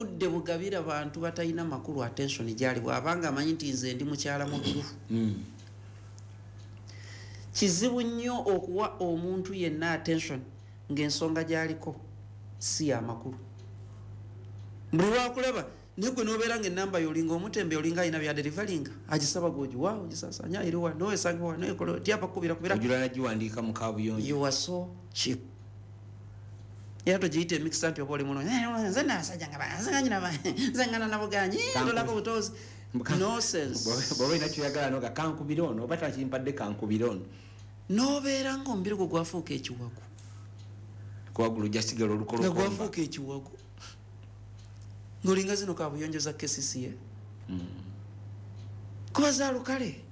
Budde bugabira bantu batalina makulu attention gyali, bw'abanga amanyi nti nze ndi mukyala mubiru. Kizibu nnyo okuwa omuntu yenna attention ng'ensonga gy'aliko si yamakulu. Buli lwakulaba naye gwe nobeera nga enamba yolinga omutembe, olinga alina byadeliveringa, agisaba gwogiwa, ogisasanya eriwa, nowesangibwa, noekola tyapa kukubira kubira. Ojula nagiwandiika mu kabuyonjo. You are so cheap. Era togiyita emikisa nti oba oli mulungi. Nze nabasajja nga nze nze ngana nabuganyi tolako butozi, nonsense. Bwoba olina kyoyagala noga kankubire ono, oba takimpadde kankubire ono. Nobeera nga omubiri gwo gwafuuka ekiwagu. Kuwagulu ojja sigala nga olukolokomba. Gwafuuka ekiwagu ng'olinga zino kabuyonjo za KCCA kuba zaalukale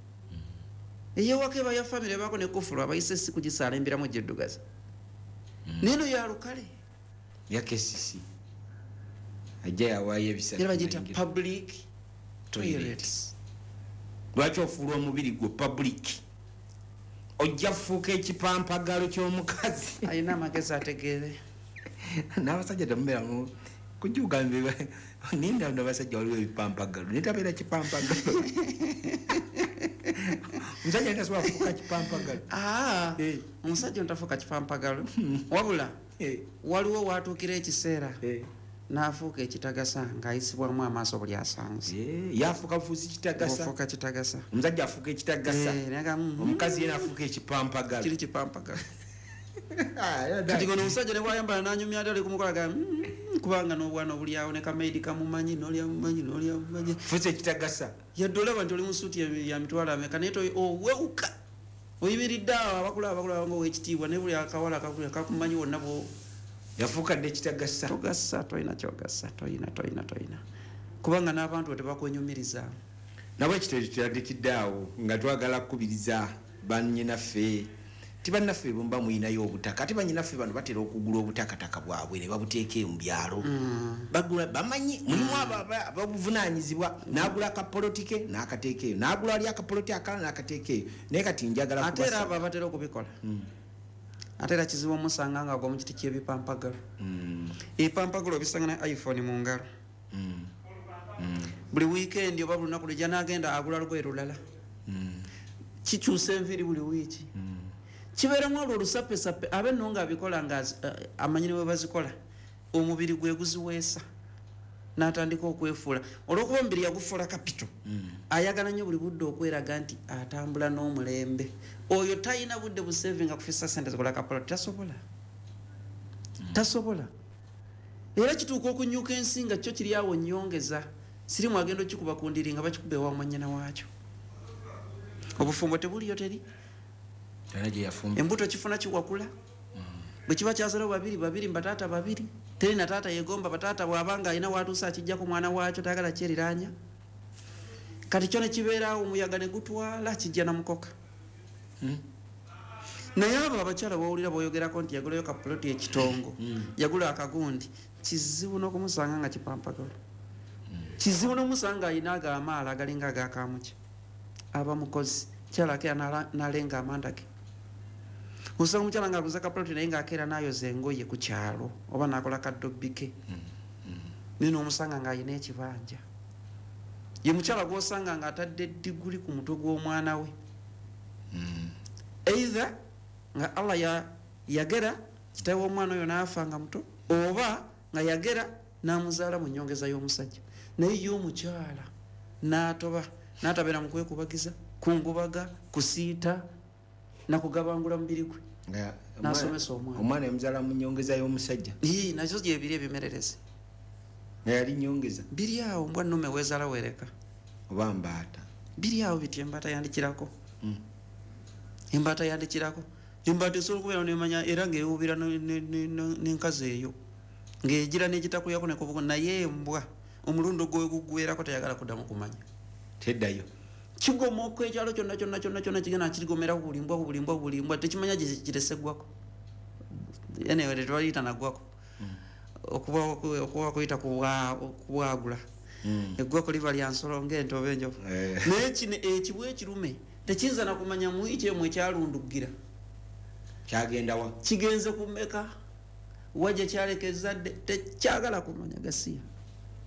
eyewaka eba ya famire, ebaako ne kufulu abayise si kugisaala embiramu giddugaza, naye no yalukale. Ya KCC ajja yawaayo ebisatu. Era bagiyita nayingira. Public toilets. Lwaki ofuula omubiri gwe public? Ojja fuuka ekipampagalo ky'omukazi. Alina amagezi ategeere. N'abasajja temubeeramu kujugambe ninda nabasajja waliwo ebipampagalo naye tabeera kipampagalo. Omusajja tasobola kufuuka kipampagalo. Aa. Eh. Omusajja ontafuuka kipampagalo, wabula waliwo watuukira ekiseera n'afuuka ekitagasa ng'ayisibwamu amaaso buli asanze. Eh, yafuuka bufuusi kitagasa. Ofuuka kitagasa. Omusajja afuuka ekitagasa. Eh, naye nga, Omukazi yena afuuka ekipampagalo. Kiri kipampagalo. Kati gono omusajja ne bwayambala nanyumya ate ali kumukola ga kubanga n'obwana obuli awo ne kamaidi kamumanyi, n'oli amumanyi, n'oli amumanyi. Fuusa ekitagasa. Yadde olaba nti oli mu suuti ya mitwalo ameka, naye owewuka oyimiridde awo, abakulaba bakulaba nga owekitiibwa, naye buli akawala akakuli kakumanyi wonna bwo. Yafuuka dde ekitagasa. Togasa, tolina kyogasa, toyina, toyina, toyina, kubanga n'abantu bo tebakwenyumiriza. Nabwe ekito tutandikidde awo nga twagala kukubiriza bannyinaffe ti bannaffe bwemuba muyinayo obutaka, ate bannyinaffe bano batera okugula obutakataka bwabwe ne babuteeka eyo mu byalo. Bagula bamanyi mulimu abo ababuvunanyizibwa, n'agula akapoloti ke n'akateeka eyo, n'agula ali akapoloti akalala n'akateeka eyo, naye kati njagala Ate era kubasaba. Abo abatera okubikola, ate era kizibu omusanga nga agwa mu kiti ky'ebipampagalo. Ebipampagalo obisanga ne iPhone mu ngalo. Buli wiikendi oba buli lunaku lujja n'agenda agula lugoye lulala, kikyusa enviiri buli wiiki, kibeeramu olwo olusapesape. Abe nno nga abikola nga amanyi ne bwe bazikola, omubiri gwe guziweesa n'atandika okwefuula. Olwokuba omubiri yagufuula capital, ayagala nnyo buli budde okweraga nti atambula n'omulembe. Oyo talina budde busavinga kufisa sente zikola kapoloti, tasobola, tasobola. Era kituuka okunyuka ensi nga kyo kiri awo nyongeza sirimu, agenda okikuba ku ndiri nga bakikuba ewa mwanyina waakyo. Obufumbo tebuliyo, teri. Era gye yafumba. Embuto kifuna kiwakula bwe kiba kyazalawo babiri babiri, mbataata babiri, teri na taata yegomba bataata. Bw'abanga alina watuuse akijjako mwana waakyo, tayagala kyeriranya. Kati kyo nekibeeraawo, omuyaga ne gutwala, kijja na mukoka. Naye abo abakyala bawulira boyogerako nti yagulayo kapuloti ekitongo, yagula akagundi, kizibu n'okumusanga nga kipampagalo. Kizibu n'omusanga alina ago amaalo agalinga agakamuki. Aba mukozi kyala, akeera n'alenga amanda ge. Osanga omukyala ngaaguza kapuloti naye ngaakeera n'ayoza engoye ku kyalo oba n'akola kadobbi ke, naye n'omusanga ng'alina ekibanja. Ye mukyala gw'osanga ng'atadde diguli ku mutwe gw'omwana we, either nga Allah yagera kitawe w'omwana oyo n'afa nga muto, oba nga yagera n'amuzaala mu nyongeza y'omusajja. Naye ye omukyala n'atoba n'atabeera mu kwekubagiza, kungubaga, kusiita nakugabangula mubiri gwe. Nga N'asomesa omwana. Omwana yamuzaala mu nyongeza y'omusajja. Ii, nazo gyebiri ebimererezi. Nga yali nyongeza. Biri awo, mbwa nnume weezaala weereka. Oba mbaata. Biri awo biti, embaata yandikirako. Embaata yandikirako. Embaata esobola okubeera nemanya era ngaewubira n'enkazi eyo ng'egira n'egitakuyako nekubugo, naye embwa omulundi ogwo gugwerako teyagala kuddamu kumanya. Teddayo. Kigomoka ekyalo kyonna kyonna kyonna kyonna, kigenda kigomera ku buli mbwa, ku buli mbwa, ku buli mbwa, tekimanya gye kiresegwako. Anyway, tetwaliyita naggwako okuba kuyita kubwagula. Eggwako liba lya nsolo ng'ente oba enjovu. Naye kino ekibwa ekirume tekiyinza nakumanya muwiiki emu ekyalundugira. Kyagenda wa? Kigenze kumeka, wajja kyaleka ezadde, tekyagala kumanya gasiya.